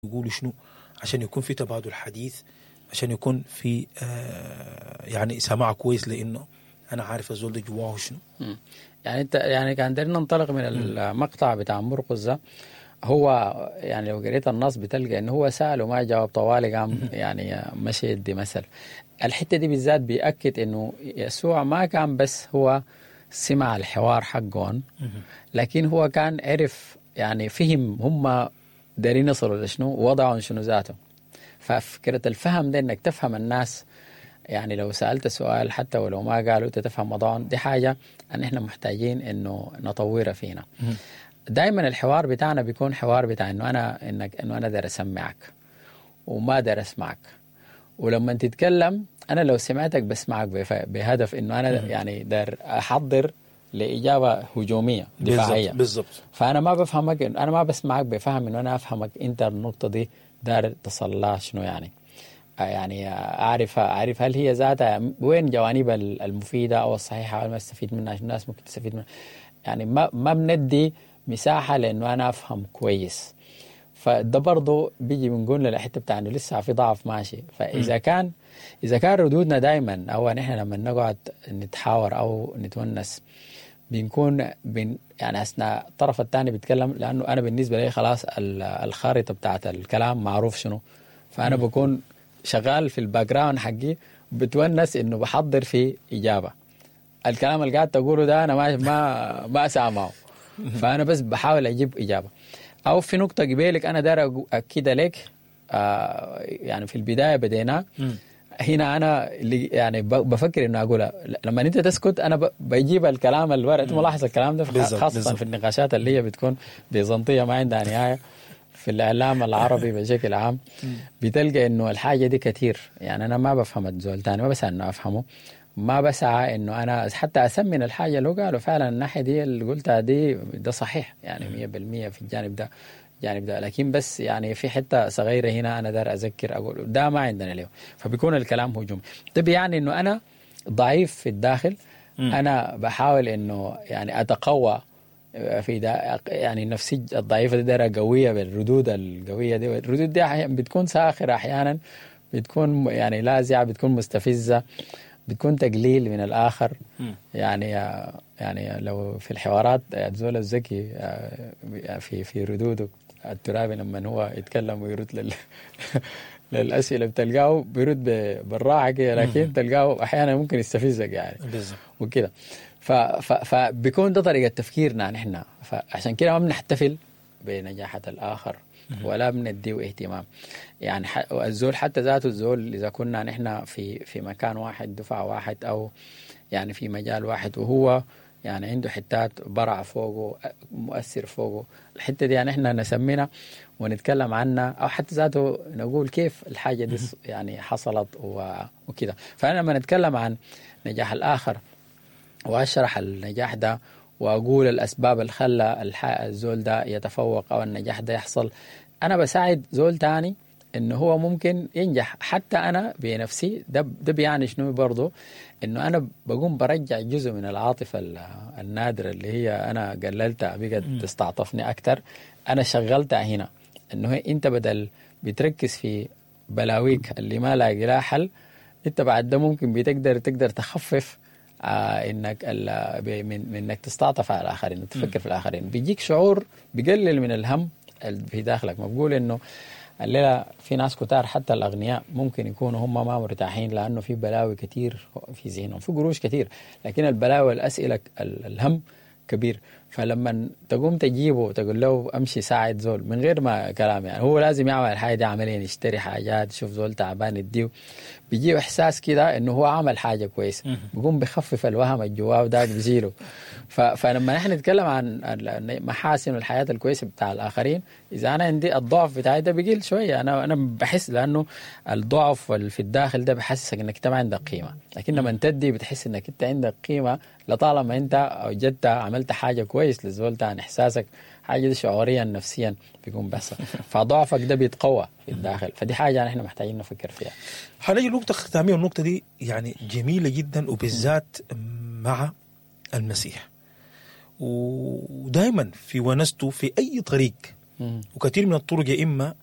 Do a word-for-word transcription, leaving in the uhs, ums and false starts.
يقولوا شنو عشان يكون في تبادل حديث، عشان يكون في آه يعني سماع كويس، لانه انا عارف الزول ده جواه شنو. مم. يعني انت يعني كان دايرين ننطلق من المقطع بتاع مرقس ده، هو يعني لو قريت النص بتلقى انه هو سأل وما جاوب طوالي، قام يعني مشي يدي مثل. الحتة دي بالذات بيأكد انه يسوع ما كان بس هو سمع الحوار حقهم، لكن هو كان عرف يعني فهم هم دارين يصلوا لشنو ووضعهم شنو ذاته. ففكرة الفهم ده انك تفهم الناس، يعني لو سألت سؤال حتى ولو ما قالوا انت تفهم وضعهم، دي حاجة ان احنا محتاجين انه نطورها فينا. دائما الحوار بتاعنا بيكون حوار بتاع انه انا انك انه انا داير اسمعك وما داير اسمعك، ولما تتكلم انا لو سمعتك بسمعك بهدف انه انا يعني داير احضر لاجابة هجومية دفاعية. بالضبط. فانا ما بفهمك، انا ما بسمعك بفهم انه انا افهمك انت النقطة دي داير تصل لها شنو، يعني يعني اعرف اعرف هل هي ذاتها وين جوانبها المفيدة او الصحيحة او ما استفيد منها، عشان الناس ممكن تستفيد منها. يعني ما ما بندي مساحة لانه انا افهم كويس. فده برضه بيجي بنقول للحتة بتاع انه لسه في ضعف ماشي. فاذا كان اذا كان ردودنا دائما او نحن لما نقعد نتحاور او نتونس بنكون بن يعني اثناء الطرف الثاني بيتكلم، لانه انا بالنسبة لي خلاص الخارطة بتاعت الكلام معروف شنو، فانا بكون شغال في ال background حقي بتونس انه بحضر في اجابه. الكلام اللي قاعد تقوله ده انا ما ما ما سامعه، فانا بس بحاول اجيب اجابه. او في نقطة قبيلك انا داير اكدها لك، آه يعني في البداية بدينا هنا انا اللي يعني بفكر انه اقولها لما انت تسكت انا بجيب الكلام الورق. انت ملاحظ الكلام ده خاصة بالزبط. في النقاشات اللي هي بتكون بيزنطيه ما عندها نهاية في الاعلام العربي بشكل عام، بتلقى انه الحاجة دي كثير. يعني انا ما بفهم الزول تاني، ما بسعى انه افهمه، ما بسعى انه انا حتى اسمن الحاجة اللي قالوا فعلا الناحية دي اللي قلتها دي ده صحيح يعني مية بالمية في الجانب ده الجانب ده، لكن بس يعني في حتة صغيرة هنا انا دار اذكر اقول ده ما عندنا له، فبيكون الكلام هجومي. ده بيعني انه انا ضعيف في الداخل، انا بحاول انه يعني اتقوى في ده، يعني نفسي الضعيفة دي دايرة قوية بالردود القوية دي. الردود دي بتكون ساخرة احيانا، بتكون يعني لاذعه، بتكون مستفزة، بتكون تقليل من الاخر. يعني يعني لو في الحوارات زول الذكي في في ردوده الترابي لما هو يتكلم ويرد لل للاسئلة بتلقاه بيرد بالراحة كده، لكن تلقاه احيانا ممكن يستفزك يعني بالظبط وكده. فبيكون ده طريقه تفكيرنا نحن، فعشان كده ما بنحتفل بنجاحة الاخر ولا بنديه اهتمام. يعني الزول حتى ذاته الزول اذا كنا نحن في في مكان واحد، دفعه واحد، او يعني في مجال واحد، وهو يعني عنده حتات برع فوقه مؤثر فوقه، الحتة دي يعني احنا نسمينا ونتكلم عنها، او حتى ذاته نقول كيف الحاجة دي يعني حصلت وكده. فانا لما نتكلم عن نجاح الاخر واشرح النجاح ده واقول الاسباب اللي خلى الزول ده يتفوق او النجاح ده يحصل، انا بساعد زول تاني انه هو ممكن ينجح. حتى انا بنفسي ده ده بيعني شنو برضه، انه انا بقوم برجع جزء من العاطفة النادرة اللي هي انا قللتها بقت تستعطفني اكثر، انا شغلتها هنا. انه انت بدل بتركز في بلاويك اللي ما لاقي لها حل، انت بعد ده ممكن بتقدر تقدر تخفف آه انك من انك تستعطف على الاخرين وتفكر في الاخرين. بيجيك شعور بيقلل من الهم في داخلك. ما بقول انه الليلة في ناس كتار حتى الاغنياء ممكن يكونوا هم ما مرتاحين لانه في بلاوي كتير في ذهنهم، في قروش كتير، لكن البلاوي والاسئلة الهم كبير. فلما تقوم تجيبه وتقول له امشي ساعد زول من غير ما كلام، يعني هو لازم يعمل الحاجة دي عمليا، يشتري حاجات، يشوف زول تعبان يديه، بيجيه احساس كده انه هو عمل حاجة كويسة، بيقوم بخفف الوهم الجواه وذاك بيزيله. فلما نحن نتكلم عن محاسن الحياة الكويسة بتاع الاخرين، اذا انا عندي الضعف بتاعي ده بيقل شوية، انا انا بحس لانه الضعف في الداخل ده بحسسك انك انت ما عندك قيمة، لكن لما تدي بتحس انك انت عندك قيمة لطالما انت وجدت عملت حاجة كويس للزول تاني، احساسك حاجة دي شعوريا نفسيا بيكون بس، فضعفك ده بيتقوى في الداخل. فدي حاجة نحن محتاجين نفكر فيها. حنجي نقطة ختامية، والنقطة دي يعني جميلة جدا وبالذات مع المسيح، ودائما في ونسته في اي طريق، وكثير من الطرق يا اما